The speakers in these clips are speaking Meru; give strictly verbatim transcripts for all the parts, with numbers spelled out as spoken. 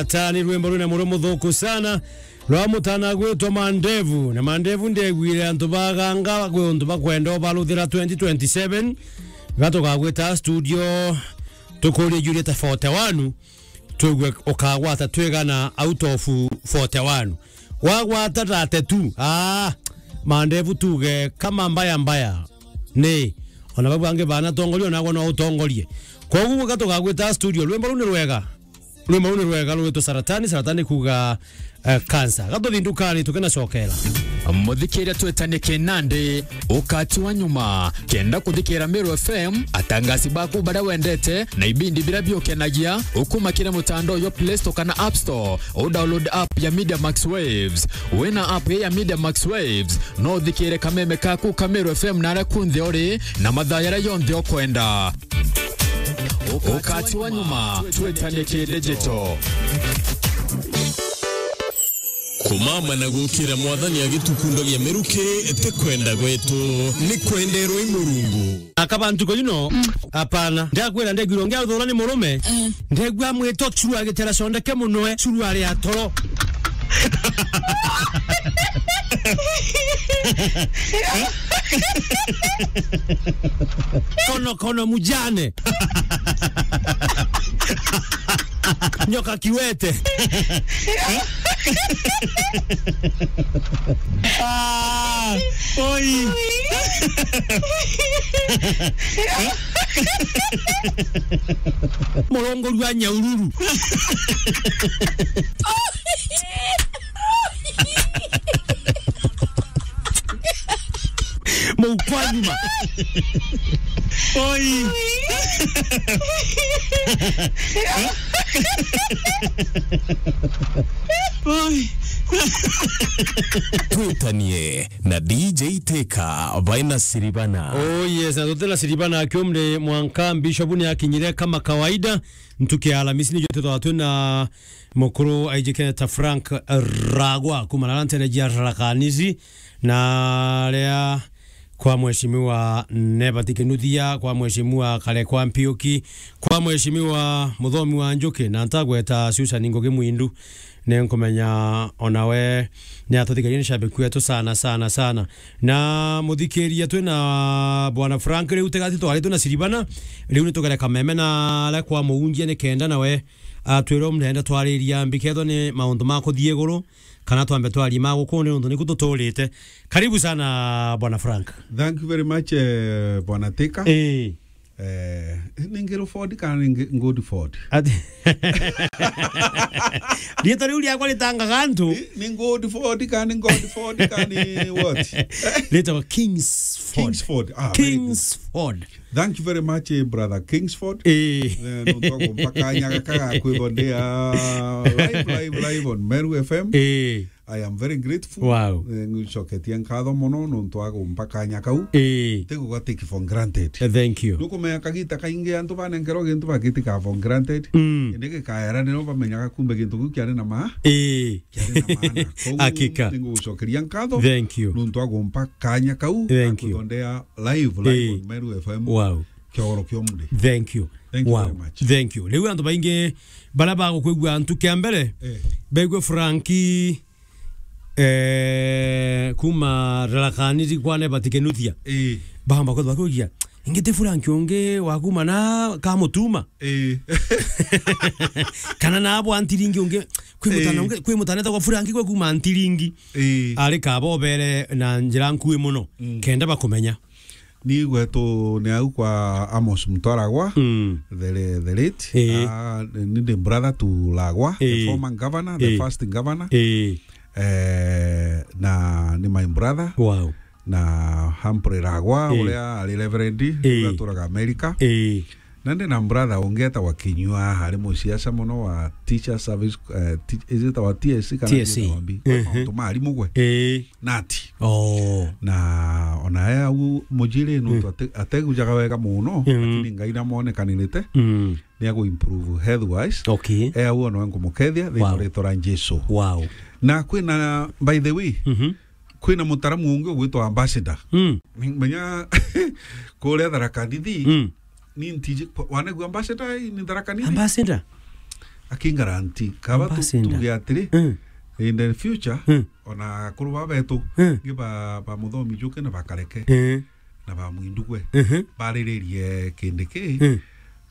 Ata ni rwimbo rwina muro muthuku sana rwa mutana gwitwa Mandevu. Na Mandevu ndegwire antu baganga gwi untu bakwenda ubaruthira twenty twenty-seven. Gatugagwita studio, tukurie Juliet forty-one, twigue ukagwata twigana out of forty-one. Wagwata thirty-two, ah, Mandevu tuge kama mbaya mbaya. Ni, ona babu bangi bana tongoria, onagwa no utongorie. Koguo gwe gatugagwita studio, rwimbo ruu ni rwega. Rwimbo ruu ni rwega, rwitwa Saratani, Saratani kuga, eh, cancer. Gatuthi ndukani, tukena cokera. Muthikiria twetanie kinandi, ukati wa nyuma. Kenda kuthikira Meru F M, atangasi baku baria wendete, na ibindi biria biukenagia, ukuma kiri mutandao jwa Play Store kana App Store, u download app ya Media Max Waves. Wina app ya Media Max Waves, no uthikire kameme kaku ka Meru F M na aria kunthe uri, na mathaa jaria jonthe ukwenda. Ukati wa nyuma, twetanie ki digital. Kumama na gukira Mwathani agitukundagia miruki, ti kwenda gwetu, ni kwenderwa i Murungu. Aka bantu ko, you know, hapana. Ndakwira ndegwirwo ngiathura ni murume. Eh. Ndegwa mwito churu agitera conde ke munwe, churu ari atoro. Kono, kono mujane. Nyoka kiwete. Ah, oi. Murongoru wa Nyaururu. Mukwa nyuma. Oi. Oi. Twitanie na D J Teka baina Siribana. Oh yes, na tutena Siribana akiumre mwanka Bishop ni akinyire kama kawaida. Ntuki ya Alamisi nijo twithagwa twina mukuru aijikene ta Frank Ragwa, kuma na ntere jia Tharaka Nithi, na aria kwa Mheshimiwa Nebati Kinuthia, kwa Mheshimiwa Karekwa Mpiuki, kwa Mheshimiwa Muthomi wa Njuki, na ntagweta Susan Ngugi Mwindu, ni nkumenya onawe ni atuthikiria, ni shabiki wetu sana, sana, sana. Na muthikiria, twina Bwana Frank, riu tigati twari twina Siribana, riu ni tugere kameme na aria kwa Muunjia, ni kenda nawe atwire umrenda twariria mbikethwa ni maundu ma kuthii iguru, kana twambe twarie ma guku ni untu niku tuturite. Karibu sana, Bwana Frank. Thank you very much, eh, Bwana Teka. Eh. Eh, ni Ngiruford kana ni Ngi-, Ngudford? Ati- Riitwa riu riakwa ritangaga antu. Ni, ni Ngudford kana ni Godford kana ni what? Riitwa Kingsford. Kingsford. Ah, very good. Kingsford. Thank you very much, eh, brother Kingsford. Eh. Eh, nontu wa kumpa kanya gaka ga kwithwa ndi, ah, live, live, live on Meru F M. Eh. I am very grateful. Wow. Eh, ngucoketia nkatho mono nontu wa kumpa kanya kau. Eh. Tiguga take for granted. Eh, thank you. Nukumenya kagita kaingi antu banenkerwa gintu bagitikaga for granted. Mm. Indi gikaera nio bamenyaga kumbe gintu kiu kiari na ma-, eh, kiari na maana. Koguo hakika. Ningugucokeria nkatho. Thank you. Nontu wa kumpa kanya kau. Thank you. Kwithwa ndi live, live, eh, on Meru F M. Wow. Kiogoro kia umuthi. Thank you. Thank you, wow, very much. Thank you. Riu antu baingi baria bagukwigua antu kia mbere, eh, baigue Franki, eh, kuma Tharaka Nithi kwa Nebati Kinuthia. Eh. Bamba kwithwa bakiuria, ingi ti Franki ungi wa kuma na Kamutuma? Eh. Kana na bwa Ntiringi ungi, kwi mutana, eh, ungi, kwi mutana etagwa Franki gwe kuma Ntiringi. Eh. Ari kaba obere na njira nkui mono. Mm. Kenda bakumenya. Ni gwetu ni au kwa Amos Mutwaragwa, mm, the la-, the late. Eh. Ah, ni the brother to Lagwa, the, eh, former governor, the, eh, first governor. Eh. Eh, na ni my brother. Wow. Na Humphrey Lagwa, eh, uria ari reverend, eh, uria aturaga America. Eh. Na ndi na brother ungi etagwa Kinyua, ari musiasa mono wa teacher service, eh, ti-, is it our T S C kana T S C? Ni maundu ma arimu gwe. Eh. Nati. Oh. Na ona e au mujiri nontu, mm, ate-, ategujaga wega mono, mm, lakini Ngai namonekanirite, mm, ni agu improve health wise. Okay. E au ona we nkumukethia thiini wa, wow, ritwa ria Jesu. Wow. Na kwina, by the way, mhm, kwina mutaramu ungi ugwitwa Ambassador. Mm. Menya kuria Tharaka Nithi, mm, ni ntiji, wanegua Ambassador ni Tharaka Nithi? Ambassador? Akingaranti, kaba tu-, Ambassador. Tuge atiri, Mm. in the future, Mm. ona akuru ba betu, Mm. ngi ba, ba Muthomi Njuki na ba Kareke, Eh. na ba Mwindugwe, Mhm. bariririe kindi ki, Mm.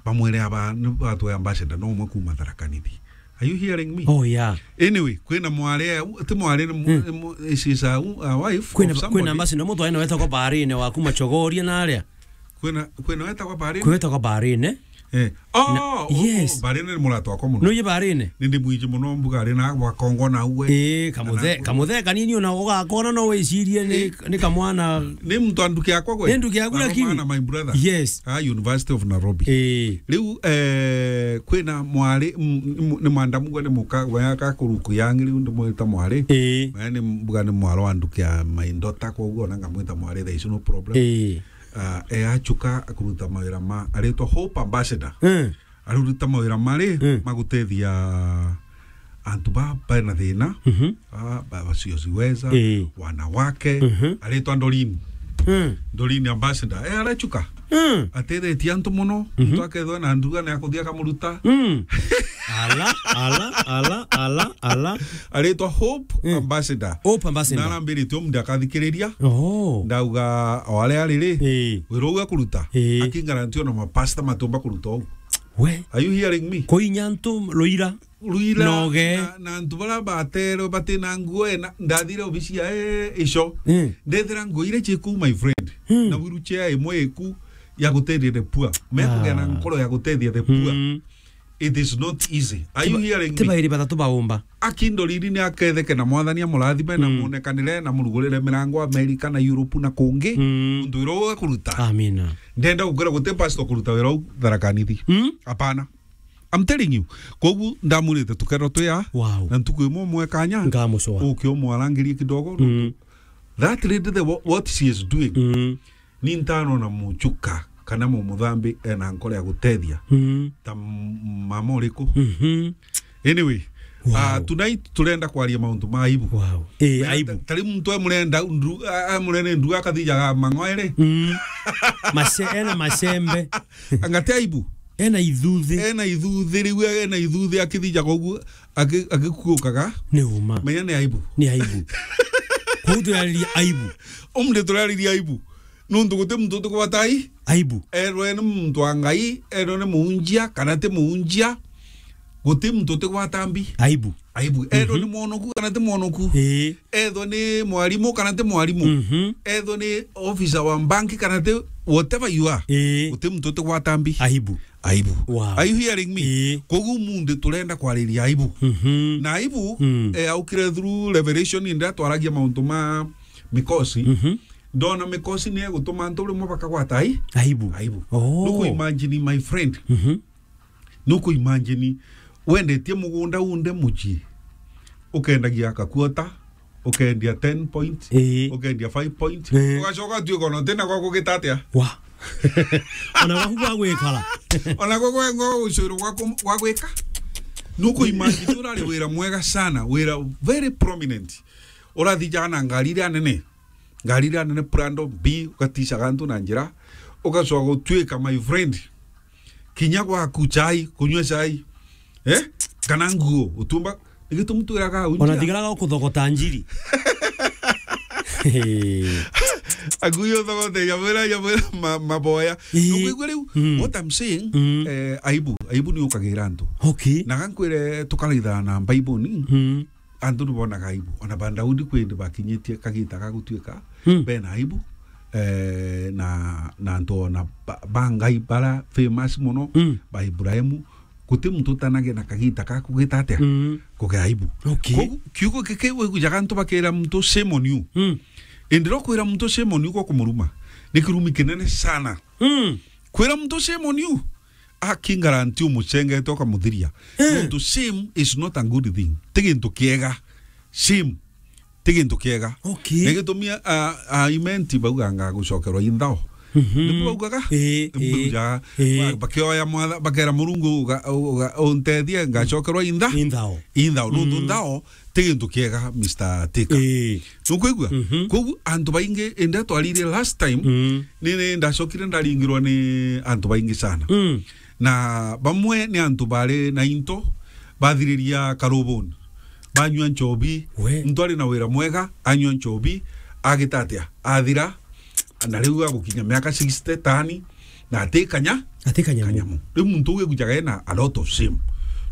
bamwire aba ni batwe ambassador no umwe kuma Tharaka Nithi. Are you hearing me? Oh, yeah. Anyway, kwina mwari, ti mwari ni mu-, Mm. ni mu-, she is a, a wife Kwina, of somebody. Kwina ambassador mutwe ene wetagwa Barine wa kuma Chogoria na aria. Kwina, kwina wetagwa Barine? Kwina wetagwa Barine. Eh. Oh, Na, oh, yes. Oh, Barine ni murata wakwa muno. Nuye Barine? Nindi mwiji muno mbuga ari na gwa Kongo na uwe. Eh, kamuthe-, Na kamuthe kanini ona ugakona no wicirie ni, Eh. ni kamwana. Ni mtu anduki akwa gwe? Ni nduki akwa Baroma lakini. Na my brother. Yes. Ah, University of Nairobi. Eh. Riu, eh, kwina mwari, m-, m-, ni mwandamu gwe ni muka, gwe aka kuruku yangi riu ndimwita mwari. Eh. Maya ni mbuga ni mwaro anduki a my daughter, kwa uguo ona ngamwita mwari, there is no problem. Eh. Ah, e achuka akuruta mawira ma, aritwa Hope Ambassador. Mm. Aruruta mawira mari Mm. magutethia antu ba bena thina, Mhm. ah, ba-, wasiojiweza, Eh. wanawake, Mhm. aritwa Doreen. Mm. Doreen Ambassador. E arachuka. Mm. Atethetie antu muno, Mhm. muntu akethwa na nduga na akuthia kamuruta. Mm. Ala, ala, ala, ala, ala. Aritwa Hope Mm. Ambassador. Hope Ambassador. Na arambiritie umunthi akathikiriria. Oh. Ndauga, o aria ari ri, Eh. wira uga kuruta. Eh. Akingaranti ona mapasta matumba kuruta uu. We. Are you hearing me? Kuinya antu ruira. Ruira Noge. Na, na antu bara baterwe batina nguo ena, ndathire obisi ya, eh, icio. Mm. Ndethira nguo iria ciku, my friend. Mm. Na wheelchair imwe iku ya gutethia the poor. Me Ah. Kugea na nkoro ya gutethia the poor. Mm. It is not easy. Are you hearing me? Tibairi batatu baumba. Aki Doreen ni aketheke na Mwathani amurathime na Mm. mwonekanire na murugurire mirango America na Europe na kungi. Mm. Untu wira uga kuruta. Amina. Ndenda gukwira guti pastor kuruta wira u Tharaka Nithi. Mm. Hapana. I'm telling you. Kogu ndamwirite tukerwa twi a. Wow. Na ntuku imwe umwe kanya. Ngamucwa. Uke umwarangirie kidogo. Mm. That lady, the, wha-, what she is doing. Mm. Ni ntano na muchuka kana mumuthambi ena nkoro ya gutethia. Mm. Ta m-, mama uriku. Mhm. Anyway, Wow. ah, tonight turenda kwaria mauntu ma aibu. Wow. Eh, Mena aibu. Ta-, tari muntu e murenda ndu-, a-, a murene ndu akathija ga mang'oere. Mm. Mace-, ena macembe. Anga ti aibu? Ena ithuthi. Ena ithuthi, riu ena ithuthi akithija koguo aki-, akikuukaga. Ni uma. Menya ni aibu. Ni aibu. Kuu turariria aibu. Umri turariria aibu. Nuntu guti muntu utigwata ai-, Aibu. Erwe ni muntu wa Ngai, erwe ni muunjia, kana ti muunjia. Guti muntu utigwata mbi. Aibu. Aibu. Erwe Mhm. ni mwonoku, kana ti mwonoku. Ii. Ethwe ni mwarimu, kana ti mwarimu. Mhm. Ethwe ni officer wa bank, kana ti whatever you are. Ii. Guti muntu utigwata mbi. Aibu. Aibu. Wow. Are you hearing me? Ii. Koguo munthi turenda kwariria aibu. Mhm. Na aibu, Mm. eh, aukire through revelation, indi atwaragia mauntu ma mikosi. Mhm. Ndona mikosi ni egutuma antu rimwe bakagwata ai-, Aibu. Aibu. Oh. Nuku imagine, my friend. Mhm. Nuku imagine, wendetie mugunda unde mucii, ukendagia kakuota, ukendia ten point, Ii. Ukendia five point, Ii. Ugacoka utuika ona utina gwa kugita atia? Wa. Ona gwaku gwa gwikara. Ona gwa, gwa, gwa ucuru gwa kum-, gwa gwika. Nuku imagine urari wira mwega sana, wira very prominent. Urathijana ngari iria nene. Ngari iria nene Prado B, ugaticaga antu na njira, ugacoka gutuika, my friend, kinya gwaku chai, kunyua chai, eh? Kana nguo, utumba, ni gitumi twiraga unjia. Ona thigara ga kuthogota njiri. Akuyo thogote, ya mwira, ya mwira ma-, maboya. Ii. Nukwigua riu, Mm. What I'm saying, Mm. eh, aibu, aibu ni ukagira antu. Okay. Na gankwire tukaraitha na Bible ni, Mm. antu ni bonaga aibu. Ona ba Daudi kwi indi bakinyitie kagita ga gutuika Mm. bena aibu, eh, na, na antu ona ba, ba Ngai bara famous muno, Mm. ba Ibrahimu, guti muntu utanagia na kagita ga kugita atia? Mm. Kugia aibu. Okay. Kogu, kiugo giki wigujaga antu bakira muntu, "Shame on you." Mm. Indi ro kwira muntu, "Shame on you," gwa kumuruma, ni kirumi kinene sana. Mm. Kwira muntu, "Shame on you," aki guarantee umucengete ukamuthiria. Eh. Nontu shame is not a good thing. Ti gintu kiega. Shame ti gintu kiega. Okay. Ni gitumi a, a, a imenti bauga nga gucokerwa inthao. Mhm. Nibu baugaga? Eh, Nibu eh, baugaga, eh. Ba-, bakioya mwatha-, bakera Murungu uga-, uga-, untethie ngacokerwa intha-, Inthao. Inthao. Nontu Mm. nthao ti gintu kiega, Mister Tika. Ii. Nukwigua? Mhm. Kogu antu baingi, indi twarire last time, Mm. ni, ni ndacokire ndaringirwa ni antu baingi sana. Mm. Na bamwe ni antu bari na into, bathiriria karubuni, banyua nchobi. We. Muntu ari na wira mwega, anyua nchobi, agita atia? Athira, na riu agukinya miaka sixty, tani, na ati kanya-, ati kanyamu. Kanyamu. Riu muntu uu egujaga ena a lot of shame.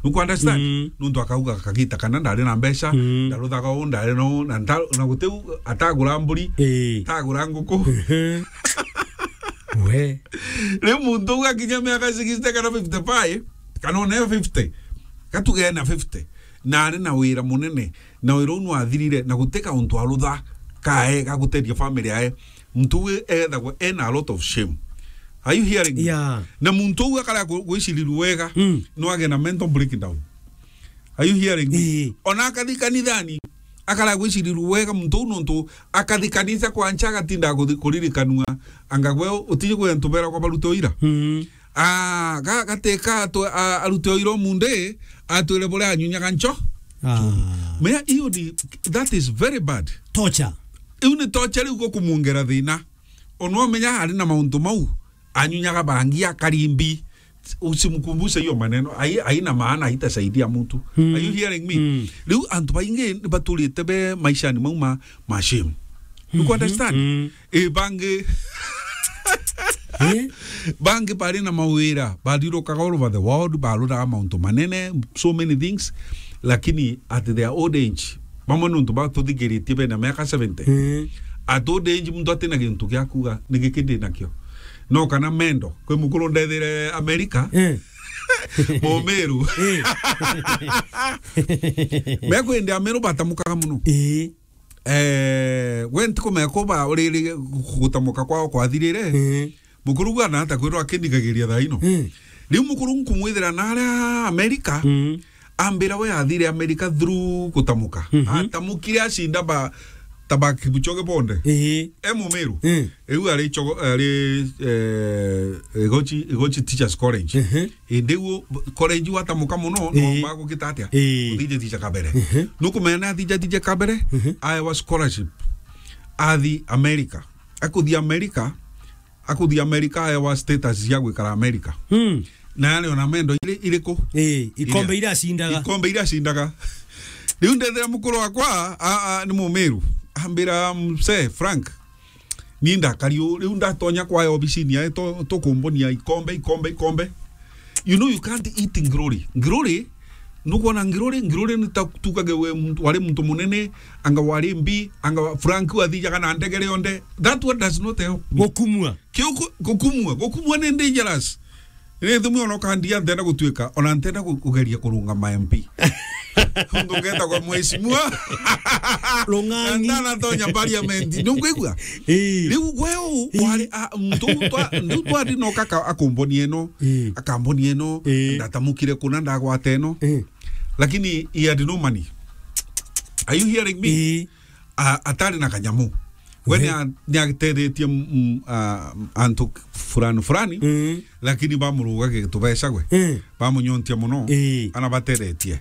Nuku understand? Mm. Nuntu akauga kagita kana ndari na mbeca, mm, ndaruthaga uu, ndari na uu, na nda-, na gutiu atagura mburi, ii, atagura nguku. Ehe. We. Riu muntu uu akinya miaka sixty kana fifty-five, kana ona fifty, gatuge ena fifty, na ari na wira munene, na wira uu nwathirire, na guti kauntu arutha kae ga guteethia family yae, muntu uu ethagwa ena a lot of shame. Are you hearing me? Yeah. Na muntu uu akara gu-, gwiciriru wega, mm, no age na mental breakdown. Are you hearing me? Ii. Ona akathi kanithani, akara gwiciriru wega muntu uu, nontu akathi kanisa kwa ncha agatinda kuthi-, kuririkanua, anga gwe utiji kwi antu beragwa barute uira? Mm. Ah, ga-, gateka atu-, a-, arute uira umunthi, atwire buria anyunyaga ncho. Ah. Menya, iyo ni, that is very bad. Torture. Iu ni torture riu gukumuongera thina. Ona umenya ari na mauntu mau, anyunyaga bangi, akari mbi. Usimkumbushe hiyo maneno. Hai-, haina maana, haitasaidia mtu. Mm. Are you hearing me? Mm. Riu antu baingi baturite be maishani mau ma, ma shame. You, mhm, understand? Mm. Eh, bangi, eh? Bangi bari na mawira, bathiurukaga all over the world, barutaga mauntu manene, so many things, lakini at their old age, bamwe nontu batuthikiritie bena miaka seventy. Mm. At old age, muntu atina gintu gia kuuga, "Ni giki ndi nakio." No kana mendo, kwi mukuru ndethire America, mm, Mumiru. Mm. Mekwende Ameru batamukaga muno. Ii. Eh, we ntikumenya kuba uriri gutamuka kwao kwathirire. Mm. Mukuru gwa na ata kwirwa akindigagiria thaa ino. Mm. Riu mukuru nkumwithira na aria America, mm, ambira we athire America through gutamuka. Mhm. Atamukire acinda ba, ta ba Kipchoge bonde. Ii. E Mumiru. Mm. Riu ari chogo, ari, eh, Igochi, Igochi Teachers College. Mhm. Indi u college watamuka muno, no, ii, wamba gukita atia? Ii. Uthithithia kabere. Mhm. Nukumenya na athithithia kabere, mhm, aewa scholarship. Athi America. Akuthi America, akuthi America, aewa status cia gwikara America. Mm. Na yari ona mendo iri-, iriku? Ii, ikombe iria acindaga. Ikombe iria acindaga. Riu ndethira mukuru wakwa, a, a, ni Mumiru. Ambira, "Mzee Frank, ni ndakari uu, riu ndatonya kwa obisini yae, to-, tukumbonia ikombe, ikombe, ikombe." You know, you can't eat glory. Glory, nukwona glory, glory ni ta tukage we muntu, wari muntu munene, anga wari mbi, anga wa-, Frank wathijaga na ndegere onde. That one does not help me. Gukumua. Kiu ku-, gukumua, gukumua ni dangerous. Ni thumi ona ukandia ntenda gutuika, ona ntenda ku-, kugeria kurungama M P. Muntu ngetagwa mheshimiwa. Rung'ang'i. Na ndanatonya parliament. Nunkwigua? Ii. Riu gwe u, ii, wari, a, muntu u twa-, riu twari no kaka akumbonia ino, ii, akambonia ino, ii, ndatamukire kuna ndagwata ino. Ii. Lakini he had no money. Are you hearing me? Ii. A-, atari na kanyamu. We, we, ni a-, ni atethetie, mm, a, antu fulani fulani, mm, lakini bamurugage tubeca gwe. Mm. Bamunyontia muno. Ii. Ana batethetie.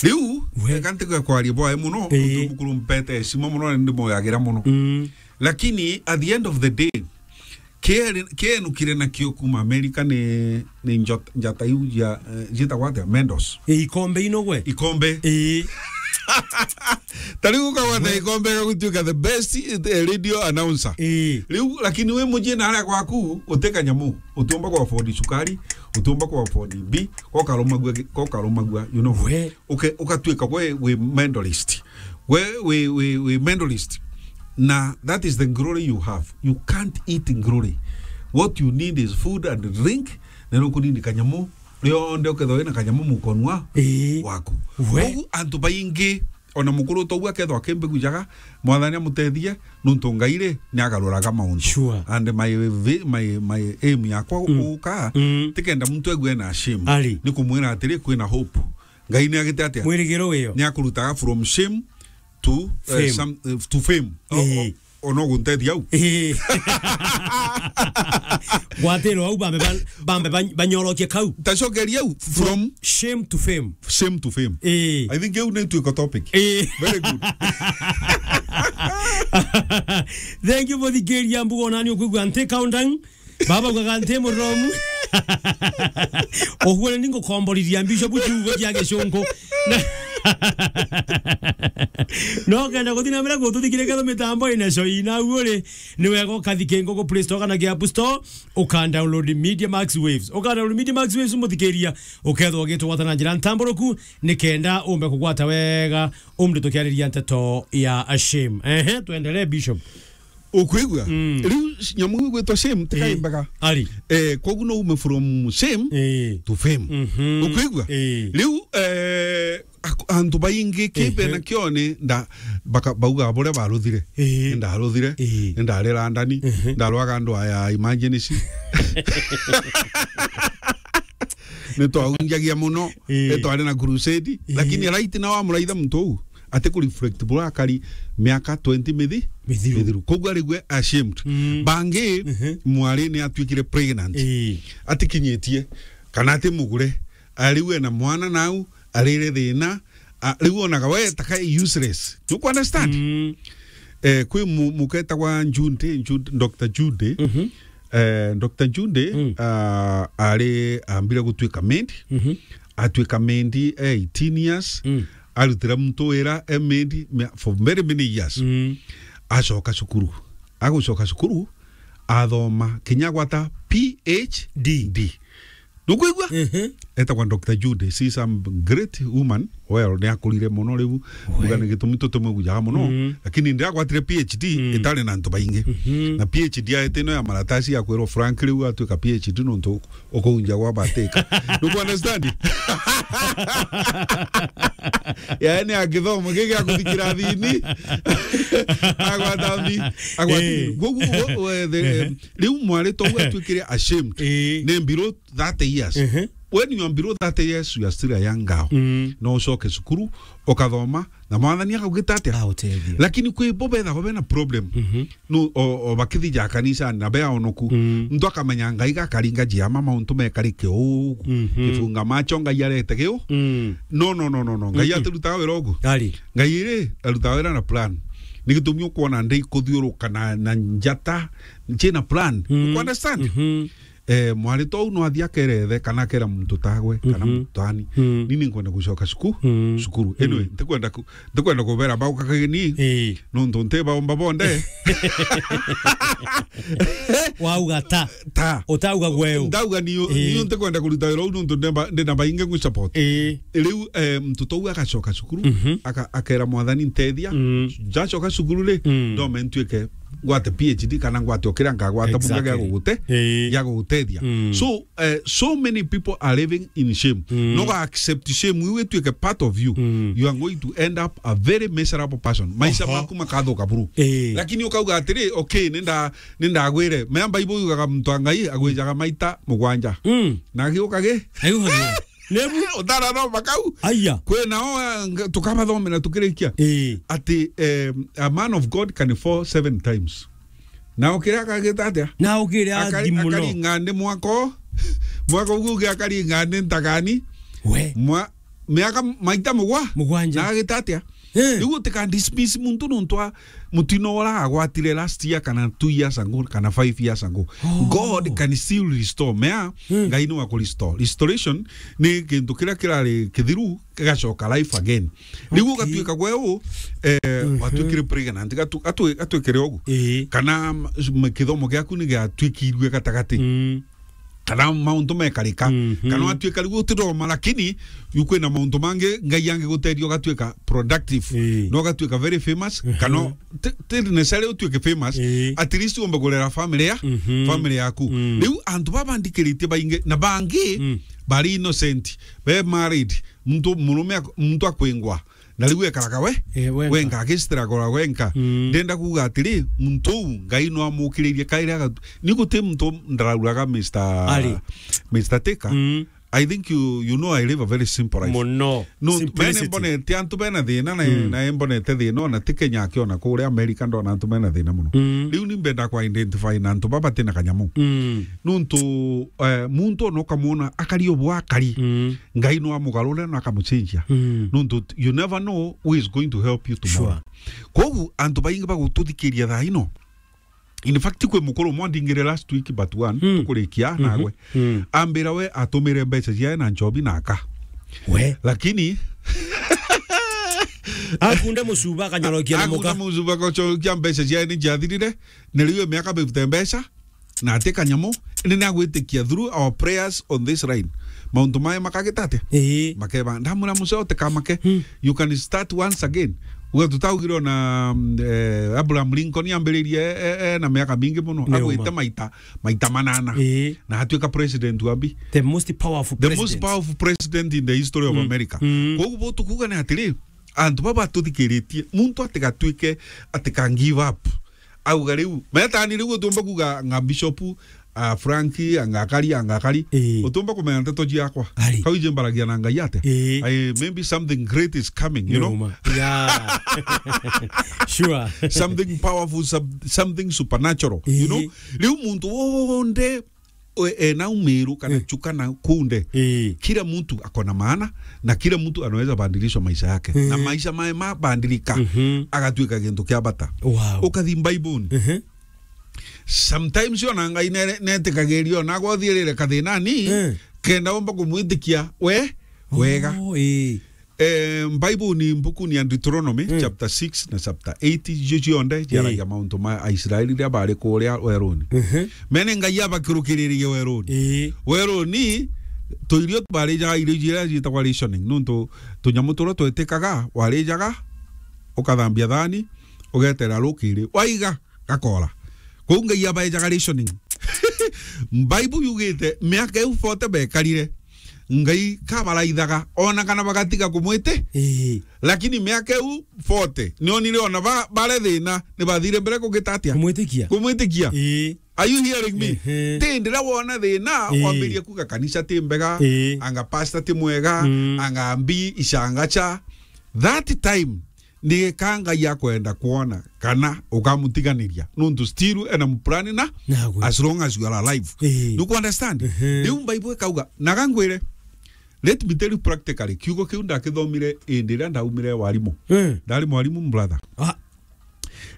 Riu, we, eka ntige kwaria bwae muno, ii, nontu mukuru mpete heshima muno, na ndimoyagira muno. Mm. Lakini at the end of the day, Kiri-, kienukire nakio kuma America ni, ni njot-, njata iu ya, eh, cietagwa atia? Mendos. Ii, ikombe ino gwe? Ikombe. Ii. Ta riu ukagwata, we, ikombe gagutuika the best, eh, radio announcer. Ii. Riu, lakini wi mucii na aria gwaku, uti kanyamu, utiumba ku afford cukari, utiumba ku afford mbi, gokarumagua gi-, gokarumagua, you know. We. Uke-, ugatuika gwe wi mentalist. We wi, wi, wi mentalist. Na that is the glory you have. You can't eat glory. What you need is food and drink. Na nukunini kanyamu, rionthe ukethwa wina kanyamu mukonwa, ii, waku. We. Kogu antu baingi, ona mukuru togu akethwa akimbe gujaga, Mwathani amutethie, nuntu Ngai ri, ni agaruraga mauntu. Sure. And my vi-, my, my aim yakwa, mm, guka, mm, tikenda muntu egue na shame. Ari. Ni kumwira atiri, kwina hope. Ngai ni agite atia? Mwirigiro wio. Ni akurutaga from shame to, eh, fame. Some, eh, to fame. O-, o-, ii, ona guntethia au. Ii. Gwatiro au bambe ban-, bambe ban-, banyorokie kau. Tacokeria au from shame to fame. Shame to fame. Ii. I think eu ni tuiko topic. Ii. Very good. Thank you for the girl ya mbugo nani ukwigua nti countdown. Baba ugaga nti muromu. Uguo ni ngukomborithia Bishop ciugo cia Gicungu. No kenda guthi na mbere gututhikira ketho mitambo ina coina uguo ri, ni wega ukathike ngugu Play Store kana ki App Store, uka download Media Max Waves. Uka download Media Max Waves, muthikiria, ukethwa ugitugwata na njira ntamburuku, ni kenda umbe kugwata wega umri tukiariria nteto ya shame. Ehe, tuendelee, Bishop. Ukwigua? Mm. Riu nyamu iu igwitwa shame, ti kaimbaga. Ari. Eh, kogu no ume from shame to fame. Mhm. Ukwigua? Eh. Riu, eh, ak-, antu baingi ki bena kione, nda-, baka-, bauga buria baruthire. Eh. Ndaruthire. Eh. Ndarira ndani. Mhm. Ndarwaga andu aya emergency. Nitwaunjagia muno. Eh. Nitwari na crusade. Eh. Lakini right now amuraitha muntu uu ati ku reflect bura akari miaka twenty mithi-, mithiru. Mithiru. Koguo arigwe ashamed. Mm. Bangi, mhm, mwari ni atwikire pregnant. Ii. Atikinyitie. Kana ati mugure. Ariu ena mwana nau, arire thina. A, riu onaga we taka useless. You understand? Mm. Eh, kwi mu-, muketagwa Jude, Jude, Doctor Jude. Mhm. Eh, Doctor Jude, mm, ah, ari ambire gutwika maid. Mhm. Atwika maid, eh, eighteen years. Mm. Arutira muntu wira e maid mia-, for very many years. Mm. Acoka cukuru. Agucoka cukuru, athoma kinya gwata P H D. D. Nukwigua? Mhm. Etagwa Doctor Jude. She is a great woman. Well, ni akurire muno riu. We. Mbuga ni gitumi tutimwigujaga muno. Mm. Lakini ndi agwatire P H D, mm, itari na antu baingi. Mhm. Na P H D aete ino ya maratasi ya kwirwo Frank riu atwika P H D nontu ukuunja gwa batika. Nuku understand? Yaani, a githomo giki gya kuthikira thini. Agwata thi-, agwata thi-, eh, gugu, gu-, we-, the, eh, riu mwari tou atwikire ashamed. Eh. Ni below thirty years. Mhm. When you are below thirty years, you are still a young girl. Mm. No ucoke cukuru, ukathoma, na mwathani akagwita atia? Autethia. Lakini kwi bo bethagwa bena problem. Mhm. No, o, o bakithija kanisani na be aonoku. Mm. Muntu akamenya Ngai gakaringa jiama mauntu mekarike uu. Mhm. Kifunga macho Ngai arete giu. Mm. No, no, no, no, no. Ngai, mm-mm, atirutaga wira ugu. Ari. Ngai ri, arutaga wira na plan. Ni gitumi ukwona ndi kuthiuruka na, na njata, nchina plan. Mm. You understand? Mhm. Eh, mwari tou no athia akerethe kana akera muntu tagwe, kana, mhm, muntu tani. Mm. Ni ni nkwenda gucoka cuku-, mm, cukuru. Anyway, mm, ntikwenda ku-, ntikwenda kubera bauka kageni. Ii. Nontu nti baumba bonde. Wauga ta. Ta. Utauga gweu. Ndauga niu, ii, niu ntikwenda kuruta wira uu nontu ndemba-, ndina baingi ngwi support. Ii. Riu, eh, muntu tou agacoka cukuru, mhm, aka-, akera mwathani ntethia. Mm. Njacoka cukuru ri, mm, ndome ntuike ngwate P H D kana ngwate o kiria nkagwata bunga gia, exactly, gugute-, ii, gia gugutethia. Mm. So, eh, so many people are living in shame. Mm. No ga accept shame, iu ituike part of you. Mm. You are going to end up a very miserable person. Maisha, oho, maku makathuka buru. Ii. Lakini ukauga atiri, okay, ninda-, nindagwire. Mea Bible yugaga muntu wa Ngai agwijaga maita mugwanja. Mm. Na agiuka gi? Agiuka gi? Nebu? Utarathoma kau? Aya. Kwina o, eh, nga-, tukabathomera tukirikia. Ii. Ati, eh, a man of God can fall seven times. Na ukire akagita atia? Na ukire akari-, athi muno. Akaringa ndi mwako. Mwako ugu ugi akaringa ndi ntagani. We. Mwa-, miaka maita mugwa. Mugwanja. Na agita atia? Eh. Riu utika dismiss muntu nontu wa mutino ura agwatire last year kana two years ago kana five years ago. Oh. God can still restore. Mea, hmm, Ngai ni wa ku restore. Restoration ni kintu kiria kirari kithiru kigacoka life again. Riu, okay, ugatuika gwe u, eh, mhm, watwikire pregnant, gatu-, gatwi-, gatwikire ugu. Ii. Kana m-, m-, kithomo giaku ni giatwikirue gatagati. Mm. Kana mauntu mekarika. Mhm. Kana watwika riu utithoma, lakini yu kwina mauntu mangi Ngai angigutethia ugatwika productive. Ii. No ugatwika very famous, mhm, kana ti, ti necessarily utwike famous, ii, at least uumbe kurera family ya, mhm, family yaku. Mm. Riu antu baba ndikiritie baingi, na bangi, mm, bari innocent, be married, muntu murume ak-, muntu akwingwa, na riu ekaraga we, eh, wenka, wenka, agistruggle wenka. Mm. Ndenda kuuga atiri, muntu uu Ngai no amukiririe kairi agatu-, ni guti muntu ndarauraga Mister, ari, Mister Tika. Mm. I think you, you know I live a very simple life. Muno. No, simplicity. Mene mbonete antu bena thina na, mm, na mbonete thina ona ti Kenya aki ona kuria America ndona antu bena thina muno. Mm. Riu ni mbenda ku identify na antu baba batina kanyamu. Mm. Nontu, eh, muntu ona ukamwona akari o bwa akari. Mm. Ngai no amugarure na akamucenjia. Mm. Nontu you never know who is going to help you tomorrow. Sure. Kogu antu baingi bagututhikiria thaa ino. In fact, kwi mukuru umwe andingire last week but one, mm, tukurikia, mhm, nagwe. Mm. Ambira we atumire mbeca ciae na nchobi na aka. We. Lakini akunda mucuba akanyorokia na muka. Akunda mucuba akacokia mbeca ciae ni ciathirire. Ni riu miaka fifty mbeca na ati kanyamu, ni nagwitikia through our prayers on this line. Mauntu mae makagita atia? Ii. Makeba, ndamwira muceo tikamake. Hmm. You can start once again. Uga tutaugire ona, mm, eh, Abraham Lincoln ambiririe, eh, eh, na miaka mingi muno. Ni agwite uma. Maita, maita manana. Ii. Na atuika president wa mbi. The most powerful president. The most powerful president in the history of, mm, America. Mm. Koguo bo tukuga ni atiri, antu baba tuthikiritie, muntu atigatuike, atika give up. Auga riu, metani riu utumba kuga nga bishop, ah, Frank, anga akari, anga akari. Ii. Utumba kumenya nteto ciakwa. Ari. Kau ije mbaragia na Ngai atia? Ii. Ai, maybe something great is coming, you know? Ni uma. Yeah. Sure. Something powerful, some-, something supernatural, you know? Ii. Riu muntu wonde, we, ena umiru kana, mm, chuka na kunde. Ii. Kila mtu ako na maana na kila mtu anaweza badilishwa maisha yake. Mm. Na maisha mae mabadilika, mhm, agatuika gintu kia bata. Wow. Ukathi Bible-ini. Mhm. Sometimes ona Ngai nere-, netikagiria ona gothiirire kathinani, mm, kenda umba kumwitikia we wega. Oh, ii. Eh, Bible ni mbuku ni ya Deuteronomy, mm, chapter six na chapter eight, icio cionthe ciaragia, eh, mauntu ma Aisraeli riria bari kuria weruni. Mhm. Mene Ngai abakirukiririe weruni. Eh. Weruni, tuirio twarijaga irio iria ciitagwa rationing, nontu tunyamu turia twetikaga, warijaga, ukathambia thani, ugetera rukiri, waiga, gakora. Kou Ngai abaejaga rationing. Bible yugite, miaka iu forty bekarire, Ngai kabaraithaga, ona kana bagatiga kumwiti. Ii. Lakini miaka iu forty, nionire ona ba-, bare thina, ni bathire mbere kugita atia? Kumwitikia. Kumwitikia. Ii. Are you hearing me? Ehe. Ti ndira wona thina, ii, wambirie kuga kanisa ti mbega, ii, anga pastor ti mwega, mm, anga mbi, icangacha. That time, ni ka Ngai akwenda kwona kana ukamutiganiria. Nontu still ena muplan na, nagwe, as long as you are alive. Ii. Nuku understand? Ehe. Riu Bible ikauga, na gangwire, let me tell you practically, kiugo kiu ndakithomire indi iria ndaumire warimu. Eh. Ndari mwarimu, brother. Ah.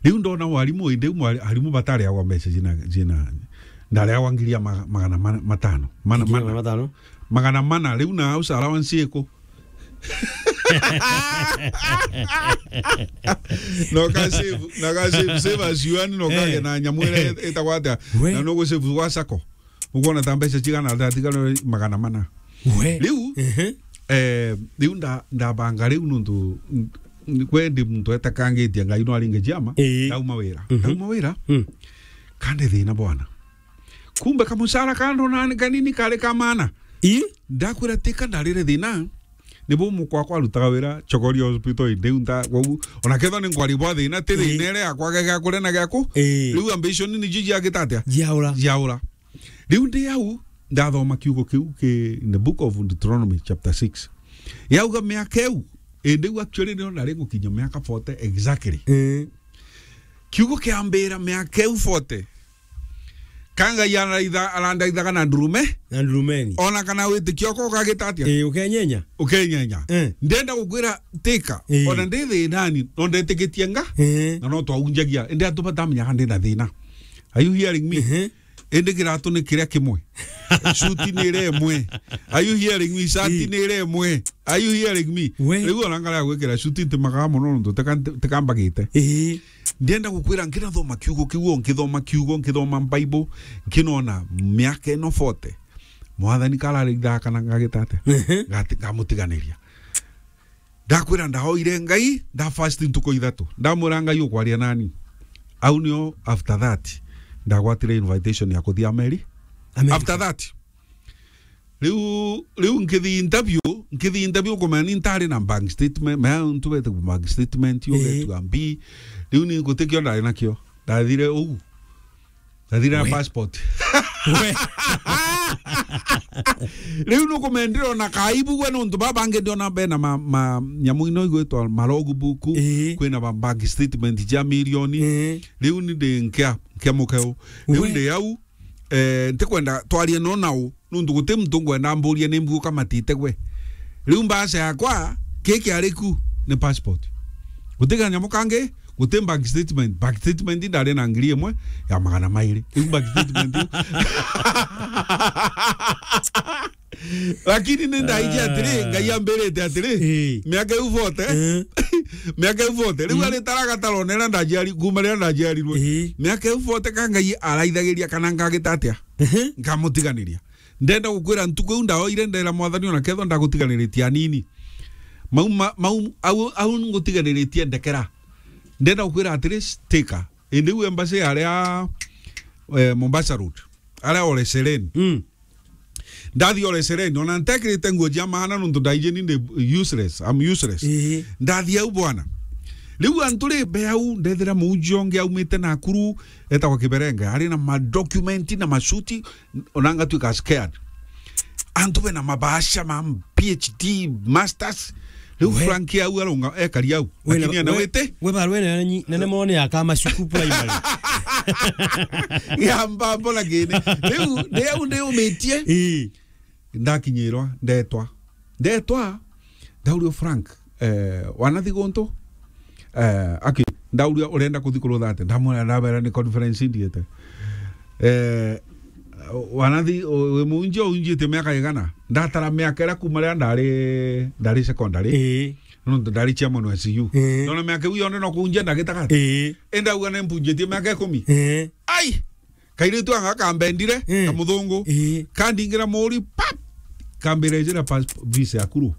Riu ndona warimu, indi mwari-, arimu batariagwa mbeca cina, cina, ndariagwa ngiri ya ma-, magana mana, matano. Mana, ngiri ya mana. Magana matano? Magana mana, riu na house allowance iku? No ka save, na ka save, save as you earn, no kage, eh, na nyamu iria itagwa atia? We. Na no gu save gwa sacco. Ukwona ta mbeca cigana, ta tigana magana mana. We. Riu, ehe, eh, riu nda-, ndabanga riu nontu, n-, n-, kwe ndi muntu etakangitie Ngai no aringe ciama, ii, ndauma wira. Mhm. Ndauma wira, mm, kandi thina bwana. Kumbe kamucara kando nani kanini kari ka maana. Ii? Ndakwira tika ndarire thina, nibo mukwa kwa arutaga wira Chogoria Hospital indi unta, kwou, ona kethwa ni nkwari bwa thina, ti, ii, thina ire yakwa gega kuria na giaku. Ii. Riu ambition ni jiji agitatia? Jiaura. Jiaura. Riu ndi au, ndathoma kiugo kiu ki in the book of Deuteronomy chapter six. Yauga miaka iu, indi u actually nio ndari gukinya miaka forty exactly. Ii. Kiugo kiambira miaka iu forty. Ka Ngai araitha-, arandaithaga na ndurume. Na ndurumeni. Ona kana witikio ko ukagita atia? Ii, ukenyenya. Ukenyenya. Eh. Ndenda gukwira tika. Ii. Ona ndi thinani, no ndetikitie nga. Ii. Na no twaunjagia. Indi antu batamenyaga ndi na thina. Are you hearing me? Ehe. Indi kiratu ni kiria kimwe. Suti ni iria imwe. Are you hearing me? Shati, ii, ni iria imwe. Are you hearing me? We. Riu ona ngara ya gwikira suti ntimakaa mono nontu tika-, nti-, tikambagite. Ii. Ndienda gukwira nkinathoma kiugo kiu, o nkithoma kiugo, nkithoma Bible, nkinona miaka ino forty. Mwathani kararithaa kana ngagita atia? Ehe. Ngati-, ngamutiganiria. Ndakwira ndaoire Ngai, nda fast ntuku ithatu. Ndamwira Ngai ukwaria nani. Au nio after that, ndagwatire invitation ya kuthia Ameri-, America. After that. Riu, riu nkithi interview, nkithi interview kumenya ni ntari na bank statement, mea ntu bete bank statement, yo, eh, betu ambi. Riu ni ngutikio ndari nakio. Ndathire uu. Ndathire na, we, passport. We. Riu nukumenya ndirona kaibu gwe nontu baba bangi ndiona bena ma, ma, nyamu ino igwitwa ma logbook, eh, kwina ba bank statement cia milioni. Eh. Riu ni ndi nkia, nkia mukeu. Riu, we, ndi au, eh, ntikwenda twarie no nau, nontu guti muntu ngwenda amburie ni mbuo kamatite gwe. Riu mbaca yakwa, ki kiari ku ni passport. Guti kanyamu kangi, Guti bank statement. Bank statement ndari na ngiri imwe ya magana mairi. Iu bank statement iu. Lakini ni ndaiji atiri, Ngai ambirite atiri, Eh. miaka iu forty, Eh. miaka iu forty, riu Mm. ari taraga taronera ndajiari-, kuma riria ndajiarirwe. Eh. Miaka iu forty ka Ngai araithagiria kana ngagita atia? Ehe. Nkamutiganiria. Ndenda gukwira ntuku iu ndaoire, ndera Mwathani, ona kethwa ndagutiganiritie anini. Mau, ma-, mau, au, au ngutiganiritie ndekera. Ndenda gukwira atiri, stika. Indi u embassy aria, eh, Mombasa Road. Aria Ole Sereni. Mm. Ndathi Ole Sereni, ona ntekirite nguo cia maana nontu ndaiji ni ndi useless, I'm useless. Ii. Ndathi au bwana. Riu antu ri mbe au, ndethira muunji ongi aumite Nakuru, etagwa Kiberenge, ari na ma document na macuti, ona ngatwika scared. Antu bena mabasha ma P H D, masters. Riu We. Frank au arunga, ekari au. Wena, Akinia na we, wete. We barwe na nyi-, nene mone ya Kamacuku Primary. Ya mbambo na kene. Riu, ndi au ndiumitie. Ii. Ndakinyirwa, ndetwa. Ndetwa, ndaurio Frank, eh, wanathi guntu? Eh, aki, ndauria, "Urenda kuthi kurutha atia?" Ndamwira, "Ndabera ni conference ndiete." Eh, wanathi, u-, wi muunjia unjite miaka igana? Ndatara miaka iria kuma riria ndari, ndari secondary. Ii. Nontu ndari chairman wa S U. Ii. Nona miaka iu yonthe no kuunjia ndagitaga. Ii. Indauga ni mbunjitie miaka ikumi. Ii. Ai! Kairitu anga kambendire, Eh. kamuthungu. Eh. Kandingira muri, pap! Kambira, "Ijira passport, visa yaku ru?"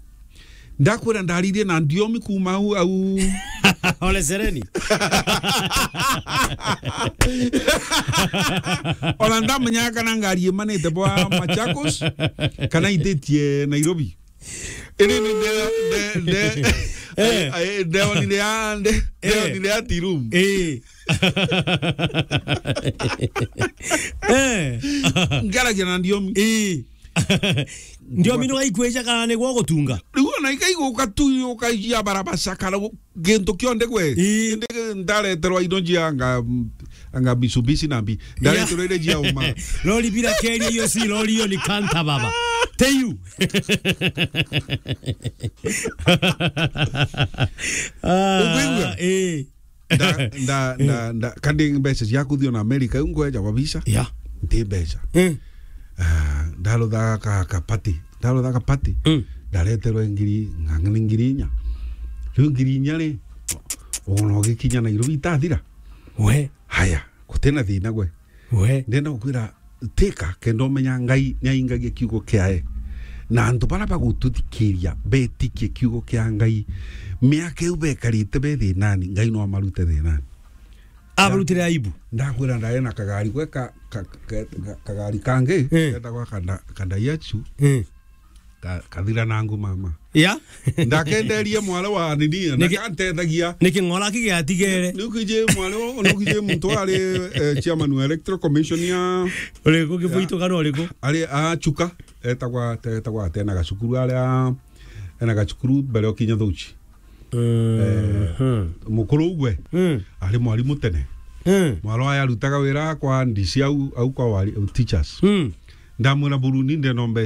Ndakwira ndaririe na ndiomi kuma au, au. Ole Sereni. Ona ndamenya kana ngari imanite bwa Machakos, kana ititie Nairobi. Indi ni nde-, nde-, nde-, Eh. ai, ai, ndeonire ya, nde-, Eh. ndeonire ya Tea Room. Eh. Eh. Ngaragia na ndiomi. Eh. Ndiomi nwa ikwija kana niguo gutunga? Riu ona ikaiguka tu, ukaijia barabara kana gu-, gintu kionde gwe. Eh. Indi ndareterwa indo njia anga, anga Mitsubishi na mbi. Ya. Ndareterwa ile njia uma. Lori bila keria, hiyo si lori, hiyo ni kanta baba. Teyu. Ah, Ukwigua? Eh. Nda, nda, nda, nda, kandi mbeca cia kuthio na America, iu ngweja kwa visa. Ya. Nti mbeca. Eh. Ah, ndaruthaga ka, ka party. Ndaruthaga party. Mm. Ndareterwe ngiri, ng'ang'a ni ngiri inya. Riu ngiri inya ri, ona ugikinya Nairobi itathira. We. Haya, gutina thina gwe. We. Ndenda gukwira, tika, kenda umenya Ngai niaingagia kiugo kiae. Na antu bara bagututhikiria, betikie kiugo kia Ngai. Miaka iu bekarite be thinani, Ngai no amarute thinani. Abarutire aibu. Ndakwira ndari na kagari gwe ka, ka, ka, ka, kagari kangi, Eh. ketagwa kanda, kanda yachu. Eh. Ka-, kathira nangu mama. Ya? Ndakenderie mwari wa nini, na Niki-, kantethagia. Niki ng'ora kigiatigere? Nukije mwari wa, nukije muntu ari, eh, chairman wa Electoral Commission ya, Uriku, ya, Kibuito kana uriku? Ari a Chuka, etagwa, etagwa ati ena gacukuru aria, ena gacukuru mbere o kinya Thuchi. Eh, Mhm. mukuru ugwe, Mm. ari mwarimu tene. Mm. Mwari wa yarutaga wira kwa ndisi au, au kwa wari-, teachers. Mm. Ndamwira, "Buruni, ndenda mbe-"